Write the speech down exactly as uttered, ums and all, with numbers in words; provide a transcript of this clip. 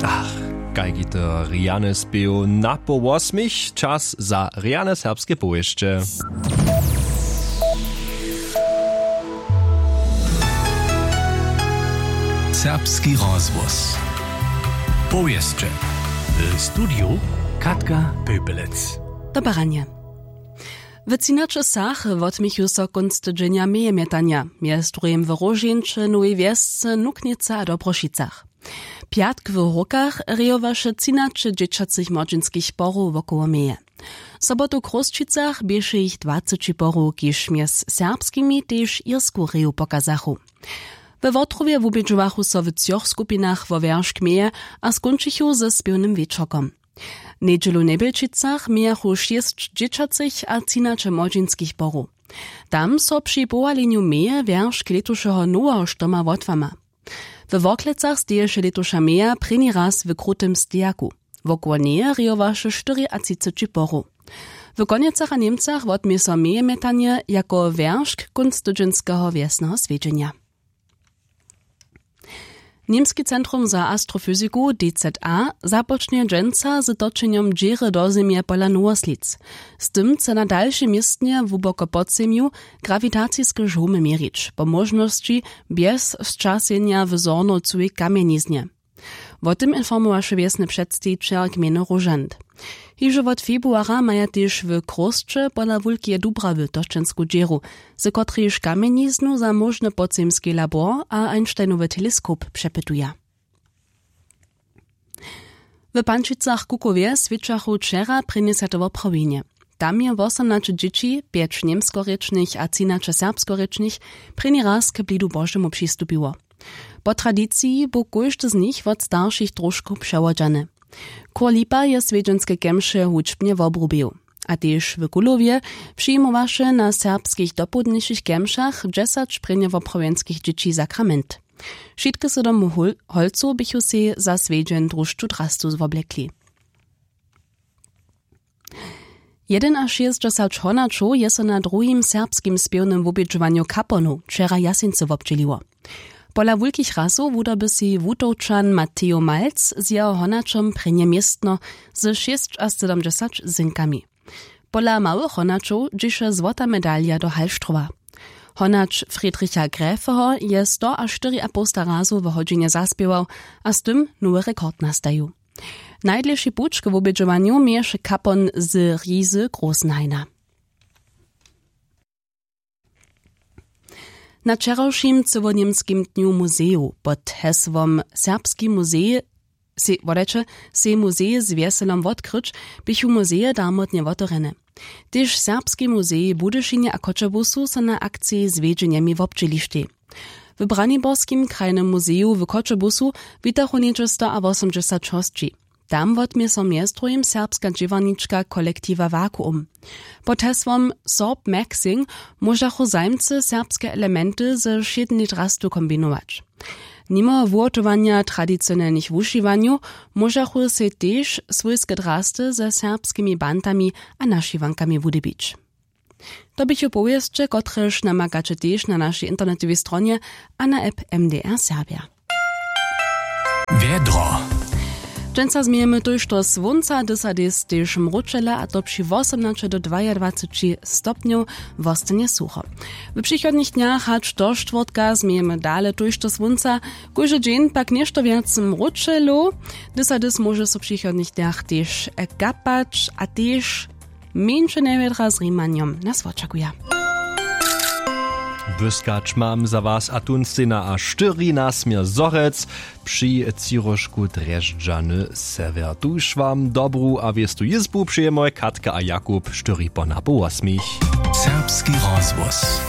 Ach, kajki to rjany spěw na poł wosmich, čas za rjane serbske powěsće. Serbski rozhłos. Powěsće. W studiju Katka Pöpelec. Dobaranje. W třinaće wsach wotměchu so kónc tydźenja mejemjetanja, mjez druhim w Róžeńće, Nowej Wjesce, Nuknjece a Dobrošicach. Pjatk w Hórkach rejowaše třinaće dźěćacych młodźinskich porow wokoło meje. Sobotu w Chrósćicach běše jich dwaceći porow, kiž mjez serbskimi tež irsku reju pokazachu. We Wotrowje wubědźowachu so w třoch skupinach wo wjeršk meje a skónčichu ze spěwnym wječorkom. Njedźelu w Njebjelčicach mějachu šěsć dźěćacych a třinaće młodźinskich porow. Tam so při powalenju meje wjeršk lětušeho noweho štoma wotłama. We Worklecach steješe lětuša meja prěni raz w krutym stejaku. Wokoło njeje rejowaše štyriatřiceći porow. W Konjecach a Němcach wotmě so mejemjetanje jako wjeršk kónc tydźenskeho wjesneho swjedźenja. Němski centrum za astrofyziku, D Z A, započnje dźensa z točenjom dźěry do Zemje pola Nowoslědz. Z tym chce na dalšej městnje hłuboko pod zemju grawitaciske žołmy měrić, po móžnosći bjez sćasenja w zornow cyłej kamjeniznje. Wo tym informowaše wjesny předstejićel gmejny Róžant. Hižo wot februara maja tež w Chrósće pola Wulkeje Dubrawy točensku dźěru, z kotrejž kamjeniznu za móžny podzemski labor a Einsteinowy teleskop přepytuja. W Pančicach-Kukowje swědčachu wčera prěnjesate woprawjenje. Tam je wosomnaće dźěći, pjeć němskorěčnych a třinaće serbskorěčnych, prěni raz k blidu Božemu přistupiło. Po tradiciji bu kóždy z nich wot staršich trošku přewodźany. Chór Lipa je swjedźenske kemše hudźbnje wobrubił. A tež w Kulowje přijimowaše na serbskich dopołdnišich kemšach dźesać prěnjewoprawjenskich dźěći sakrament. Wšitke sydom hól-, holcow běchu sej za swjedźeń drušću drastu zwoblekli. Jedynašěsćdźesać honaćow je so na druhim serbskim spěwnym wobědźowanju Kaponow wčera w Jaseńcy wobdźěliło. Pola wulkich rasow wudoby sej Wutowčan Mateo Malc z jeho honaćom prěnje městno ze šěsćasydomdźesać zjenkami. Pola małych honaćow dźěše złota medalja do Hallstrowa. Honać Friedricha Gräfeho je stoaštyriapołsta razow w hodźinje zaspěwał a z tym nowy rekord nastajił. Najdlěši puć k wobědźowanju měješe Kapon z Rizy Großenhaina. Na wčerawšim cyłoněmskim dnju muzejow pod hesłom Serbski muzej, se-, wodajće, sej muzej z wjeselom wotkryć, běchu muzeje darmotnje wotewrjene. Tež Serbski muzej w Budyšinje a Choćebuzu so na akciji z wjedźenjemi wobdźělištej. W Braniborskim krajnym muzeju w Choćebuzu witachu něhdźe stoawosomdźesać hosći. Tam wotmě so mjez druhim serbska dźěłarnička kolektiwa Vakuum. Pod hesłom Sorb Maxing móžachu zajimcy serbske elementy ze wšědnej drastu kombinować. Nimo wuhotowanja tradicionelnych wušiwanjow móžachu sej tež swójske drasty ze serbskimi bantami a našiwankami wudyrbić. To běchu powěsće, kotrež namakaće tež na našej internetowej stronje a na app M D R Serbja. Wjedro. Dźensa změjemy tójšto słónca, dysadis tež mróčele, a to při wosomnaće do dwajadwaceći stopnjow. Wostanje sucho. W přichodnych dnjach hač do štwórtka změjemy dale tójšto słónca, kóždy dźeń pak něšto wjac mróčelow. Dysadis móže so w přichodnych dnjach tež kapać a tež mjeńše njewjedra z rimanjom nas wočakuja. Błyskać mam za was a tón stejna a štyri nasměr zhorjelc při třiróžku drježdźany sewjer. Tuž wam dobru a wěstu jězbu přejemy Katka a Jakub štyri po napoł wosmich. Serbski rozhłos.